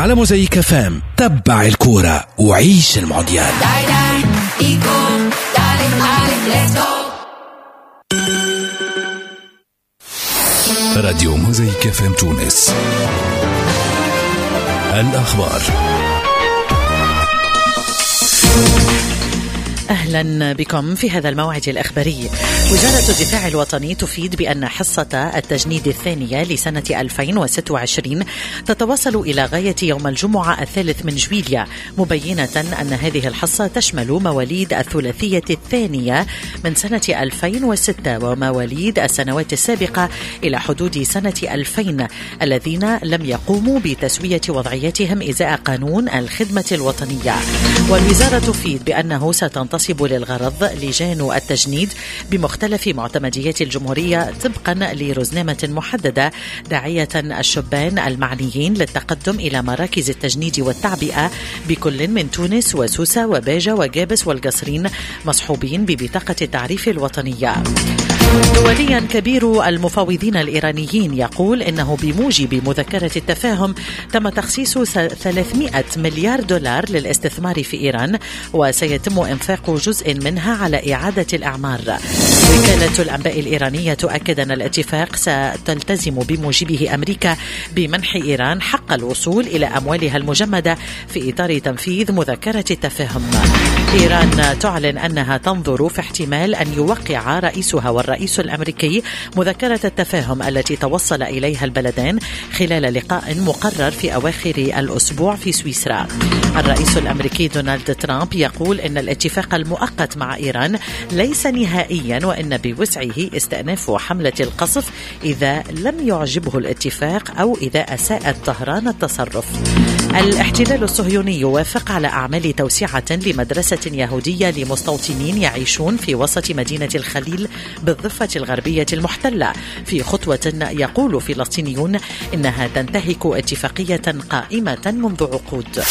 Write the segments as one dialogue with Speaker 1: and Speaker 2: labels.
Speaker 1: على موزايك FM. تبع الكورة وعيش المونديال. راديو موزايك FM تونس. الأخبار.
Speaker 2: أهلا بكم في هذا الموعد الإخباري. وزارة الدفاع الوطني تفيد بأن حصة التجنيد الثانية لسنة 2026 تتواصل إلى غاية يوم الجمعة 3 جويلية، مبينة أن هذه الحصة تشمل مواليد الثلاثية الثانية من سنة 2006 ومواليد السنوات السابقة إلى حدود سنة 2000 الذين لم يقوموا بتسوية وضعيتهم إزاء قانون الخدمة الوطنية. والوزارة تفيد بأنه ستنتصب للغرض لجان التجنيد بمختلف معتمديات الجمهورية طبقا لرزنامة محددة، داعية الشبان المعنيين للتقدم إلى مراكز التجنيد والتعبئة بكل من تونس وسوسة وباجة وجابس والقصرين، مصحوبين ببطاقة التعريف الوطنية. دوليا، كبير المفاوضين الإيرانيين يقول إنه بموجب مذكرة التفاهم تم تخصيص 300 مليار دولار للاستثمار في إيران، وسيتم إنفاق جزء منها على إعادة الأعمار. وكالة الأنباء الإيرانية تؤكد أن الاتفاق ستلتزم بموجبه أمريكا بمنح إيران حق الوصول إلى أموالها المجمدة في إطار تنفيذ مذكرة التفاهم. إيران تعلن أنها تنظر في احتمال أن يوقع رئيسها والرئيس الأمريكي مذكرة التفاهم التي توصل إليها البلدان خلال لقاء مقرر في أواخر الأسبوع في سويسرا. الرئيس الأمريكي دونالد ترامب يقول إن الاتفاق المؤقت مع إيران ليس نهائيا، وإن بوسعه استئناف حملة القصف إذا لم يعجبه الاتفاق أو إذا أساءت طهران التصرف. الاحتلال الصهيوني يوافق على أعمال توسعة لمدرسة يهودية لمستوطنين يعيشون في وسط مدينة الخليل بالضفة الغربية المحتلة، في خطوة يقول فلسطينيون إنها تنتهك اتفاقية قائمة منذ عقود.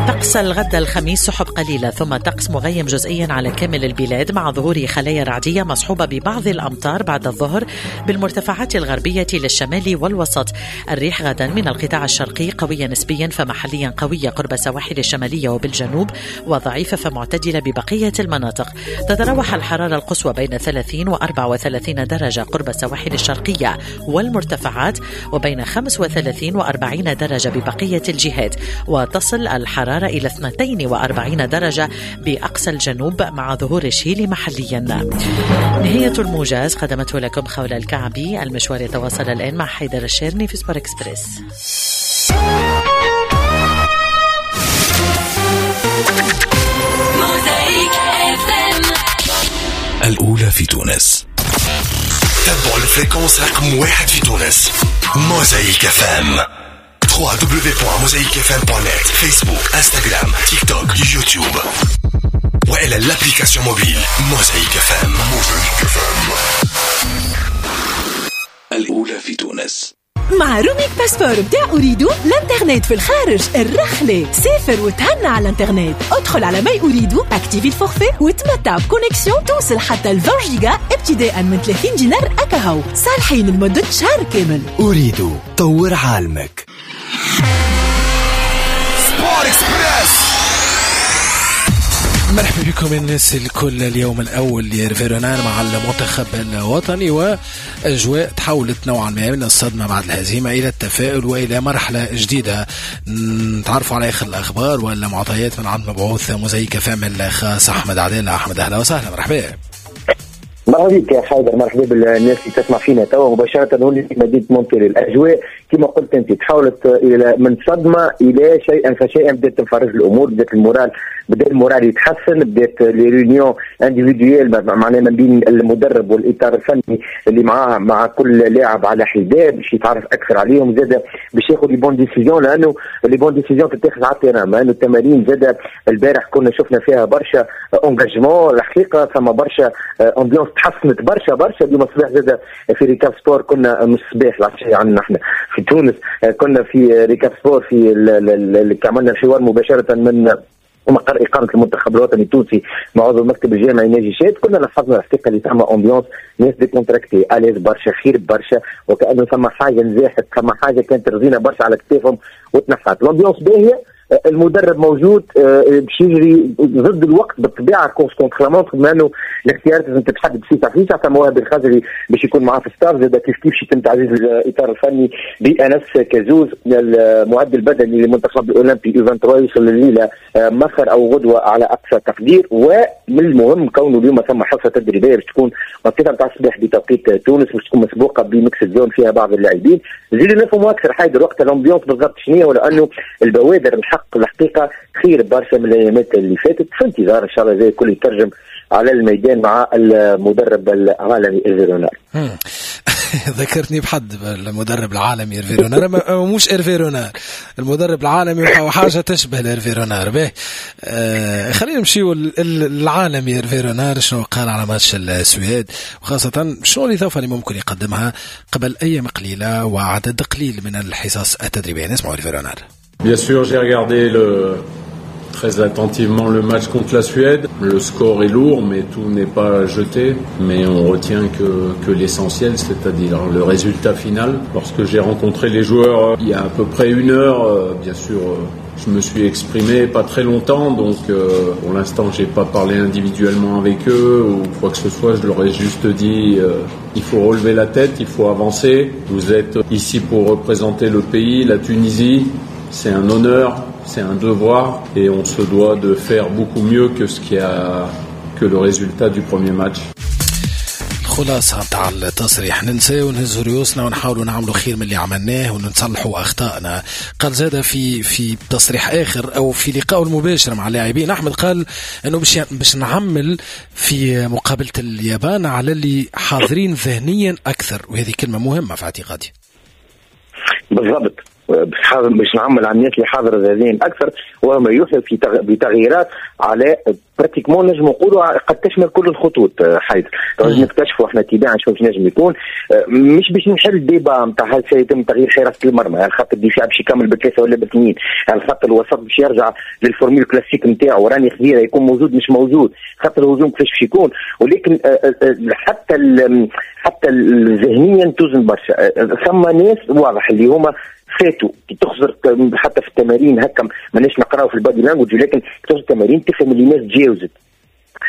Speaker 2: طقس الغد الخميس سحب قليلة ثم طقس مغيم جزئيا على كامل البلاد مع ظهور خلايا رعدية مصحوبة ببعض الأمطار بعد الظهر بالمرتفعات الغربية للشمال والوسط. الريح غدا من القطاع الشرقي قوية نسبيا فمحليا قوية قرب السواحل الشمالية وبالجنوب، وضعيفة فمعتدلة ببقية المناطق. تتراوح الحرارة القصوى بين 30 و 34 درجة قرب السواحل الشرقية والمرتفعات، وبين 35 و 40 درجة ببقية الجهات، وتصل الحرارة إلى 42 درجة بأقصى الجنوب مع ظهور الشيل محليا. نهاية الموجز قدمته لكم خولة الكعبي. المشوار يتواصل الآن مع حيدر الشيرني في Sport Express.
Speaker 1: الأولى في تونس. تابعوا ال fréquence رقم 1 في تونس، موزايك FM. www.mosaicfm.net، فيسبوك، انستغرام، تيك توك، يوتيوب، والى l'application mobile موزايك FM. موزايك FM الاولى في تونس.
Speaker 3: مع roaming passeport بتاع أوريدو الانترنت في الخارج الرحلة، سافر وتهنى على الانترنت. ادخل على My Ooredoo، activer ال forfait وتمتع ب connexion توصل حتى 20 جيجا ابتداء من 30 دينار أكاهو، صالحين لمدة شهر كامل.
Speaker 4: أوريدو، طور عالمك.
Speaker 1: Sport Express. مرحبا بكم الناس الكل. اليوم الأول لإيرفي رونار مع المنتخب الوطني، وأجواء تحولت نوعا ما من الصدمة بعد الهزيمة إلى التفاؤل وإلى مرحلة جديدة. نتعرفوا على آخر الأخبار والمعطيات من عند مبعوث موزايك FM الخاص أحمد عدالة. أحمد أهلا وسهلا، مرحبا.
Speaker 5: مرحبا بك يا حيدر، مرحبا بالناس اللي تسمع فينا توا مباشرة. هون في مدينة مونتري الأجواء كما قلت أنت تحولت إلى من صدمة إلى شيئا فشيئا. بدأت تنفرج الأمور، بدأت ال moral، بدا ال moral يتحسن، بدات les réunions individuelles معناها ما بين المدرب والاطار الفني اللي معاه مع كل لاعب على حده باش يتعرف اكثر عليهم، زاد باش ياخذ les bonnes décisions، لانه les bonnes décisions تتاخذ على ال terrain. لانه التمارين زاد البارح كنا شفنا فيها برشا engagement، الحقيقة ثم برشا ambiance تحسنت برشا برشا. اليوم الصباح زاد في Récap Sport كنا مش الصباح العشية عندنا احنا في تونس، كنا في Récap Sport في عملنا الحوار مباشرة من ومقر اقامه المنتخب الوطني التونسي مع عضو المكتب الجامعي ناجي شاد، كنا لاحظنا الحقيقة اللي ثم ambiance، ناس décontractée، à l'aise برشا، خير برشا، وكانه ثم حاجة نزاحت، ثم حاجة كانت رزينه برشا على كتافهم وتنحت. l'ambiance باهيه، المدرب موجود باش يجري ضد الوقت بالطبيعة، course contre la montre، بما انه الاختيارات لازم تتحدد فيسع فيسع. ثم وهبي الخزري باش يكون معاه في staff، زاد كيف كيف يتم تعزيز الاطار الفني بانس كازوز المعد البدني للمنتخب الاولمبي U 23، يوصل الليلة مخر او غدوه على اقصى تقدير. ومن المهم كونه اليوم ثم حصة تدريبية باش تكون وقتها نتاع الصباح بتوقيت تونس، باش تكون مسبوقة ب mixed zone فيها بعض اللاعبين. زيد نفهموا اكثر حيدر وقت l'ambiance بالضبط شنو، ولانه البوادر الحق الحقيقة خير برشا من الايامات اللي فاتت، في انتظار ان شاء الله زي الكل يترجم على الميدان مع المدرب العالمي إيرفي رونار.
Speaker 1: ذكرتني بحد المدرب العالمي إيرفي رونار، مش إيرفي رونار، المدرب العالمي وحاجه تشبه إيرفي رونار. به خلينا نمشيو العالمي إيرفي رونار، شنو قال على ماتش السويد، وخاصة شنو الاضافة اللي ممكن يقدمها قبل ايام قليله وعدد قليل من الحصص التدريبية. نسمعوا إيرفي رونار.
Speaker 6: Bien sûr, j'ai regardé très attentivement le match contre la Suède. Le score est lourd, mais tout n'est pas jeté. Mais on retient que l'essentiel, c'est-à-dire le résultat final. Lorsque j'ai rencontré les joueurs il y a à peu près une heure, bien sûr, je me suis exprimé pas très longtemps, donc pour l'instant j'ai pas parlé individuellement avec eux ou quoi que ce soit. Je leur ai juste dit il faut relever la tête, il faut avancer. Vous êtes ici pour représenter le pays, la Tunisie. C'est un honneur, c'est un devoir et on se doit de faire beaucoup mieux que ce qui a que le résultat du premier match.
Speaker 1: الخلاصة نتاع التصريح، ننسى ونهزوا ريوسنا ونحاولوا نعملوا خير من اللي عملناه ونصلحوا أخطائنا. قال زاد في تصريح آخر أو في لقائه المباشر مع اللاعبين أحمد، قال أنه باش نعمل في مقابلة اليابان على اللي حاضرين ذهنيا أكثر، وهذه كلمة مهمة في اعتقادي.
Speaker 5: بالضبط، باش نعمل على الناس اللي حاضره ذهنيا اكثر، وما يوحي في بتغييرات على pratiquement نجم نقولوا قد تشمل كل الخطوط. حيث نكتشفوا احنا تباعا شنو باش نجم يكون، مش باش نحل débat نتاع هل سيتم تغيير حراسة المرمى، هل خط الدفاع باش يكمل بثلاثة ولا باثنين، هل خط الوسط باش يرجع لل formule classique نتاعو، راني خذيره يكون موجود مش موجود، خط الهجوم كيفاش باش يكون. ولكن حتى ذهنيا توزن برشا. ثم ناس واضح اللي هما فاتوا، كي تخزر حتى في التمارين هكا ماناش نقراو في ال body language، ولكن تخزر التمارين تفهم اللي الناس تجاوزت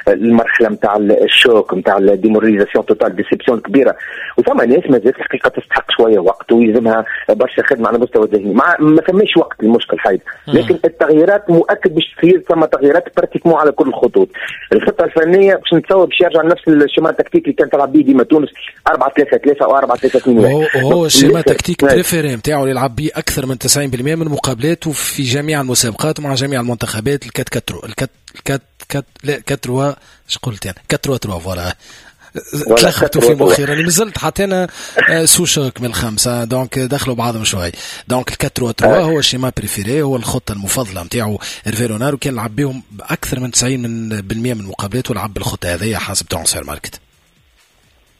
Speaker 5: المرحلة نتاع ال choc نتاع ال démoralisation totale، déception كبيرة. وثم ناس مازالت الحقيقة تستحق شوية وقت ويلزمها برشا خدمة على مستوى الذهني، ما ثماش وقت المشكل حيد. لكن التغييرات مؤكد باش تصير، ثم تغييرات pratiquement على كل الخطوط. الخطة الفنية باش نتصور باش يرجع نفس ال schéma tactique اللي كان تلعب به ديما تونس، 4-3-3 او 4-3-2.
Speaker 1: وهو ال schéma tactique préféré نتاعو اللي يلعب به اكثر من 90% من مقابلاته في جميع المسابقات ومع جميع المنتخبات، ال quatre quatre ال quatre quatre لا quatre اش قلت انا 4-3 voilà، تلخبطوا في مخي راني مازلت حتى انا sous choc من الخمسة، donc دخلوا بعضهم شوي. donc ال 4-3 هو ال schéma préféré، هو الخطة المفضلة نتاعو إيرفي رونار، وكان لعب بهم باكثر من 90% من مقابلاته ولعب بالخطة هذه حسب Transfermarkt.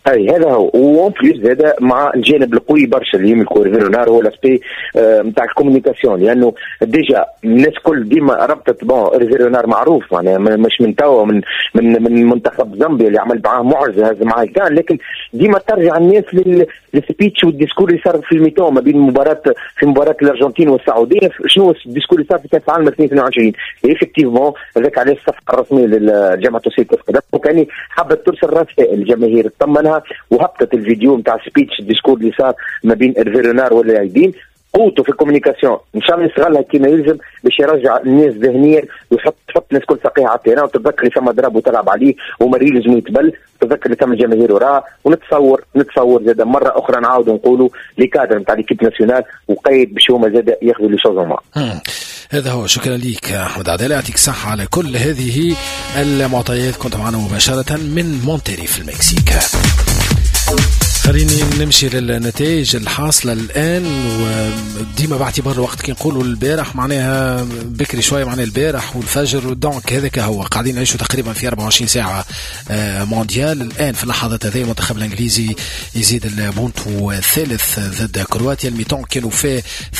Speaker 5: اي هذا هو، و en plus هذا مع الجانب القوي برشا اللي يملكو إيرفي رونار هو l'aspect نتاع ال communication، لانه déjà الناس كل ديما ربطت bon إيرفي رونار معروف معناها مش من توا، من من من منتخب زامبيا اللي عمل معاه معجزه هز معاه الكان، لكن ديما ترجع الناس لل speech وال discours اللي صار في ال mi-temps ما بين مباراة في مباراة الارجنتين والسعودية، شنو ال discours اللي صار في كاس العالم 2022. effectivement هذاك علاش الصفقة الرسمية للجامعة التونسية لكرة القدم، وكان حبت ترسل رسائل الجماهير تطمنها، وهبطت الفيديو نتاع speech ال discours اللي صار ما بين إيرفي رونار واللاعبين. قوته في ال communication ان شاء الله يستغلها كما يلزم باش يرجع الناس ذهنيا ويحط تحط الناس كل ساقيها على ال terrain، وتتذكر اللي ثم ضرب وتلعب عليه ومريل لازم يتبل، تتذكر اللي ثم الجماهير وراه. ونتصور زاد مرة اخرى نعاودوا نقولوا les cadres نتاع l'équipe nationale وقيد باش هما زاد ياخذوا les choses.
Speaker 1: هذا هو، شكرا لك احمد عدالة، يعطيك الصحة على كل هذه المعطيات. كنت معنا مباشرة من مونتيري في المكسيك. خليني نمشي للنتائج الحاصلة الآن، وديما باعتبار الوقت كي نقولوا البارح معناها بكري شوية، معناها البارح والفجر، donc هذاك هو قاعدين نعيشوا تقريبا في 24 ساعة مونديال. الآن في اللحظات هذه المنتخب الإنجليزي يزيد البونتو الثالث ضد كرواتيا، ال mi-temps كانوا فيه 2-2.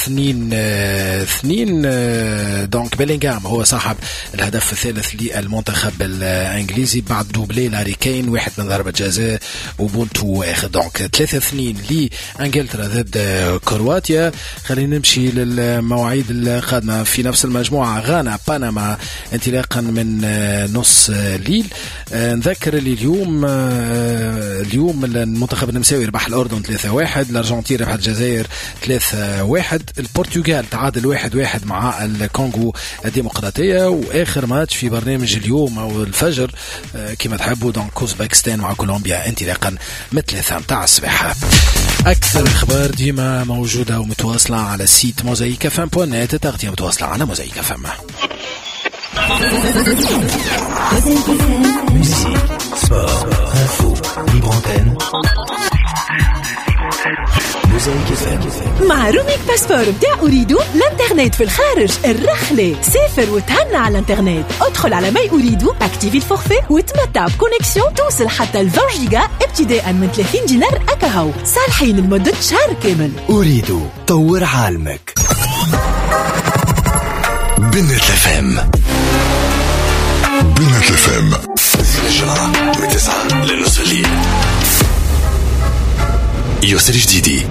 Speaker 1: donc بيلينغهام هو صاحب الهدف الثالث للمنتخب الإنجليزي بعد doublé لهاري كين، واحد من ضربة جزاء وبونتو آخر. donc 3-2 لإنجلترا ضد كرواتيا. خلينا نمشي للمواعيد القادمة في نفس المجموعة، غانا بنما انطلاقا من نص ليل. نذكر اللي اليوم المنتخب النمساوي ربح الأردن 3-1، الأرجنتين ربحت الجزائر 3-1، البرتغال تعادل 1-1 مع الكونغو الديمقراطية. وآخر ماتش في برنامج اليوم أو الفجر كما تحبوا، donc أوزبكستان مع كولومبيا انطلاقا من 3 متاع الصباح. أكثر الأخبار ديما موجودة ومتواصلة على site موزايك FM point net، التغطية متواصلة على موزايك FM.
Speaker 4: Musique, sport, info, libre antenne. موزايك FM.
Speaker 3: مع roaming passeport بتاع أوريدو، الانترنت في الخارج الرحلة، سافر وتهنى على الانترنت. ادخل على my أوريدو، activer ال forfait وتمتع ب connexion توصل حتى 20 جيجا ابتداء من 30 دينار أكاهو، صالحين لمدة شهر كامل.
Speaker 4: أوريدو، طور عالمك. بنت FM، بنت FM، الجمعة من 9 لنص الليل. يوسف جديدي.